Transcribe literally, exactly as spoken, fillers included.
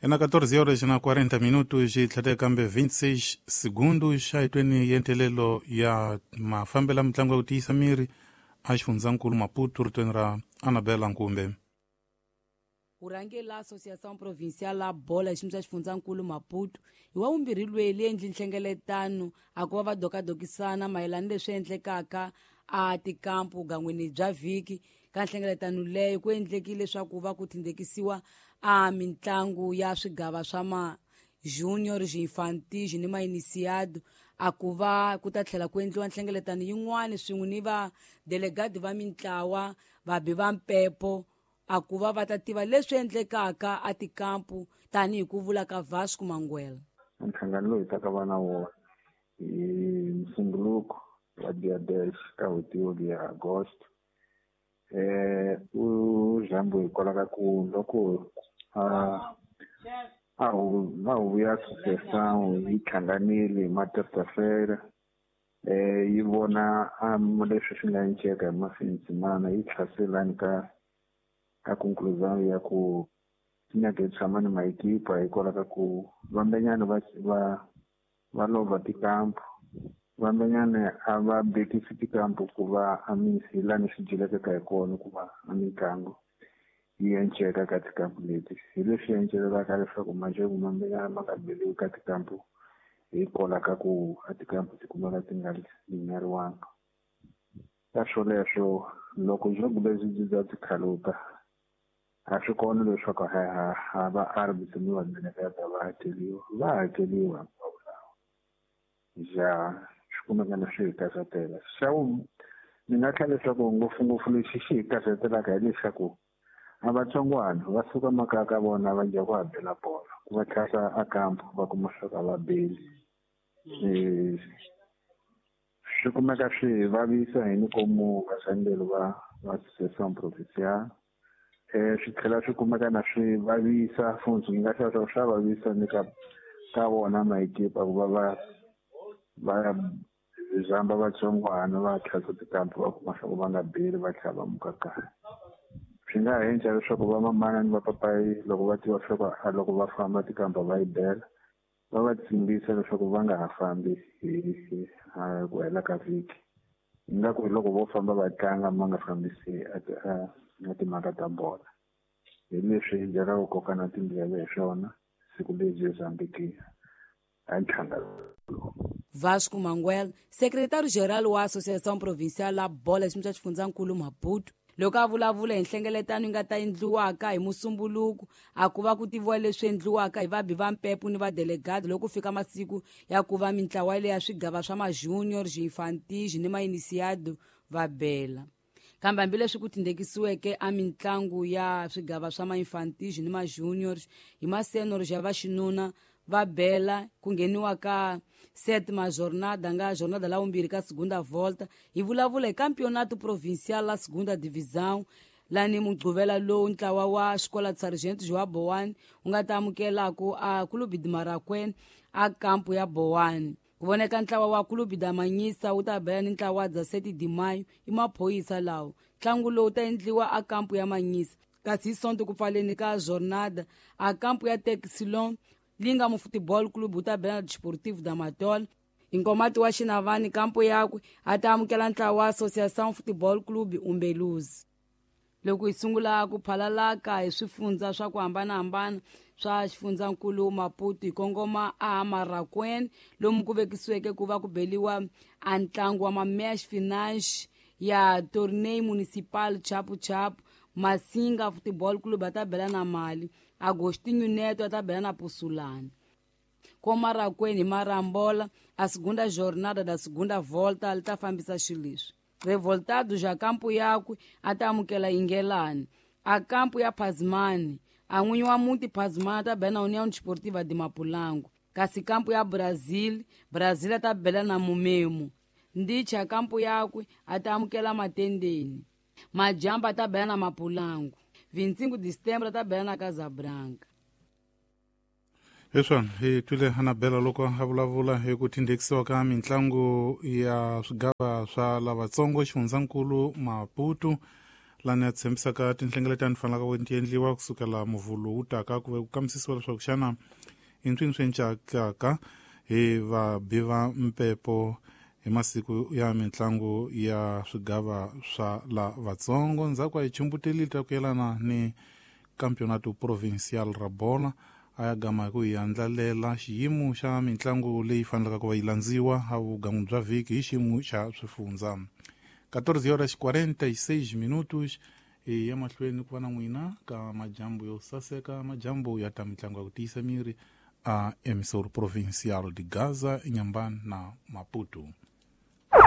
Ena catorze horas na quarenta minutos e tlhete kambe vinte e seis segundos aitweni yentelelo ya mafambela mitlangu ya ku tiyisa miri a xifundzankulu Maputo ritweni ra Anabela Nkumbe. Urhangela Associação Provincial la Bola xiyimo xa xifundzankulu Maputo hi wa vumbirhi lweyi endli nhlengeletano a ku va va dokadokisana mayelana leswi endlekaka a tikampu gan'wini bya vhiki. Ka nhlengeletano leyo ku endlekile leswaku va ku tindekisiwa a mitlangu ya swigava swa ma junior, infantil ni ma iniciado a ku va ku ta tlhela ku endliwa nhlengeletano yin'wana swin'we ni va delegado va mintlawa vabi va mpepo a ku va va ta tiva leswi endlekaka a tikampu tanihi ku vula ka Vasco Manguela. Nhlangano lowu hi taka va na wona hi Musumbuluko wa dia dez ka n'hweti ya Agosto eh u jambo hikwalaho ka ku loko a a va huvo ya associação yi hlanganile hi ma terça-feira eh yi vona leswi swi nga enceka hi mafindzimana yi tlhaselani ka ka conclusão ya ku nyaka hi tshama ni maekipa hikwalaho ka ku vambenyana va va va lova tikampu vambenyana a va bekisi tikampu ku va a misi lani swi dyelekaka hi kona ku va a mitlangu yi enceka ka tikampu leti hi leswi encelelaka leswaku majeko mambenyana ma nga beliwi ka tikampu hikwalaho ka ku a tikampu ti kumeka ti nga linyariwanga. Ka swoleswo loko jogo lebyi byi bya tikhaluka a swi kona leswaku ha ha va arbitro ni va delegata va hakeliwa va hakeliwa hinkwavo lawa ja swi kumeka na swi hi karhatela. Xa ni nga tlhela leswaku ngopfungopfu lexi xi hi karhatelaka hileswaku a vatsongwana va suka makaya ka vona va dya ku habela bolo ku va tlhasa a kampu va kuma leswaku a va beli swi kumeka swi hi vavisa hi ni komu vasangelo va va Associação Provincial eh swi tlhela swi kumeka na swi vavisa futhi ni nga hlaya leswaku swa vavisa ni ka ka vona maekipa ku va va va zamba vatsongwana va tlhasa tikampu va kuma swa ku va nga beli va tlhela va muka kaya. Swi nga ha endla leswaku va mamana ni vapapayi loko va tiva leswaku a loko va famba tikampa va yi bela va va tsimbisa leswaku va nga ha fambi hi ku hela ka vhiki ingaku loko vo famba va tlanga ma nga fambisi a timhaka ta bola hi leswi hi byelaka ku koka na tindleve hi swona siku lebyi Mozambique a nhlangano. Vasco Manguel, secretário-geral wa Associação Provincial la Bola xiyimo xa xifundzankulu Maputo, loko a vulavula hi nhlengeletano yi nga ta endliwaka hi Musumbuluko a ku va ku tiviwa leswi endliwaka hi vabi va mpepo ni va delegado loko ku fika masiku ya ku va mintlawa leya swigava swa ma-junior, infantil ni ma-iniciado va bela. Kambe hambileswi ku tindekisiweke a mitlangu ya swigava swa ma-infantil ni ma-junior hi ma-senior ya vaxinuna va bela ku ngheniwa ka sétima jornada nga jornada la vumbirhi ka segunda volta hi vulavula hi campeonato provincial la segunda divisão lani mugquvela lowu ntlawa wa xikola sargento João Bowane wu nga ta amukelaku a Clube de Marakwena a kampu ya Bowane. Ku voneka ntlawa wa Clube da Manyisa wu ta bela ni ntlawa wa sete de Maio i maphorisa lawo. Ntlangu lowu ta endliwa a kampu ya Manyisa kasi hi Sonto ku pfaleni ka jornada a kampu ya Texilon Linga mu Futebol Clube wu ta bela na Desportivo da Matola. Inkomati wa Xinavani kampo yakwe a ta amukela ntlawa wa Associação Futebol Clube Umbeluzi. Loko hi sungula ku phalalaka hi swifundza swa ku hambanahambana swa xifundzankulu Maputo hi kongoma a Marakwena lomu ku vekisiweke ku va ku beliwa a ntlangu wa ma-match finance ya Torneio Municipal Chapu Chapu. Masinga Futebol Clube a ta bela na Mali, Agostinho Neto a ta bela na Pussulani. Ko Marakwena hi Marambola a segunda jornada da segunda volta li ta fambisa xileswi. Revoltado ja kampu yakwe a ta amukela Ingelani. A kampu ya Pazmani, a n'winyi wa muti Pazmani a ta bela na União Desportiva de Mapulango. Kasi kampu ya Brazil, Brazil a ta bela na Mumemo. Ndicha kampu yakwe a ta amukela Matendeni. Majamba a ta bela na Mapulango. vinte e cinco de setembro a ta bela na Casabranca. Leswi hi twile Anabela loko a vulavula hi ku tindekisiwa ka mitlangu ya swigava swa lavatsongo xifundzankulu Maputo Lani ya tshembisaka tinhlengeletano fanelaka ku ti endliwa kusukela muvhulu wu taka ku ve ku kambisisiwa leswaku xana i ntswini swi encakaka hi vabi va mpepo hi masiku ya mitlangu ya swigava swa la vatsongo. Ndzhaku a hi chumbutelile ta ku yelana ni campeonato provincial ra bola, a ya gama hi ku hi andlalela xiyimo xa mitlangu leyi fanelaka ku va yi landziwa a vugangu bya vhiki hi xiyimo xa swifundza. quatorze horas quarenta e seis minutos e ya mahlweni ku va na n'wina ka majambu yo saseka, majambu ya ta mitlangu ya ku tiyisa miri a emissor provincial de Gaza, Inhambane na Maputo.